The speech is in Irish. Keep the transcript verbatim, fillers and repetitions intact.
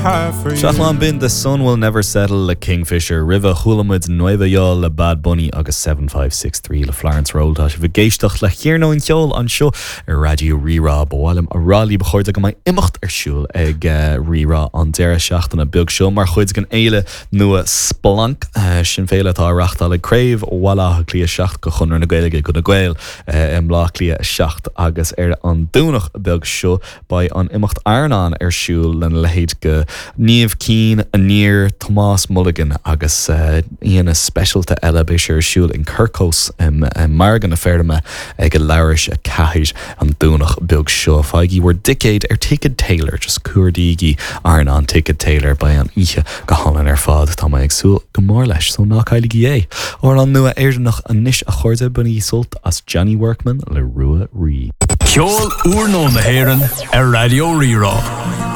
have for you. Seachlán bin The Sun Will Never Settle le Kingfisher roimhe chuala muid Nueva Yol le Bad Bunny agus seven five six three le Florence Rolle. Tá sibh ag éisteacht le ceirnín an cheoil anseo ar Raidió Rí-Rá. Ba mhaith liom a rá libh a chairde go mbeidh imeacht ar siúl ag eh, Rí-Rá an deireadh seachtaine beag seo mar chuid den fhéile nua Splanc. Eh, sin féile atá á reáchtáil ag Craobh Bhaile Átha Cliath seacht de Chonradh na Gaeilge do na Gaeil eh, i mBleá Cliath a seacht agus ar an Domhnach beag seo beidh an imeacht Airneán ar siúl lena leithéid de Niamh Keane, Aniar, Tomás Mulligan agus uh, aíonna speisialta eile. Beidh sé ar siúl in Quirke's um, um, Margadh na Feirme ag a leathuair tar éis a ceathair an Domhnach beag seo. Faighigí bhur dticéid ar Ticket Tailor, just cuardaígí Airneán Ticket Tailor. Beidh an oíche go hálainn ar fad. Tá mé ag súil go mór leis, so ná cailligí é. Amhrán nua Éireannach anois a chairde. Bainigí sult as Johnny Workman le Rua Rí. Ceol úrnua na hÉireann ar Raidió Rí-Rá.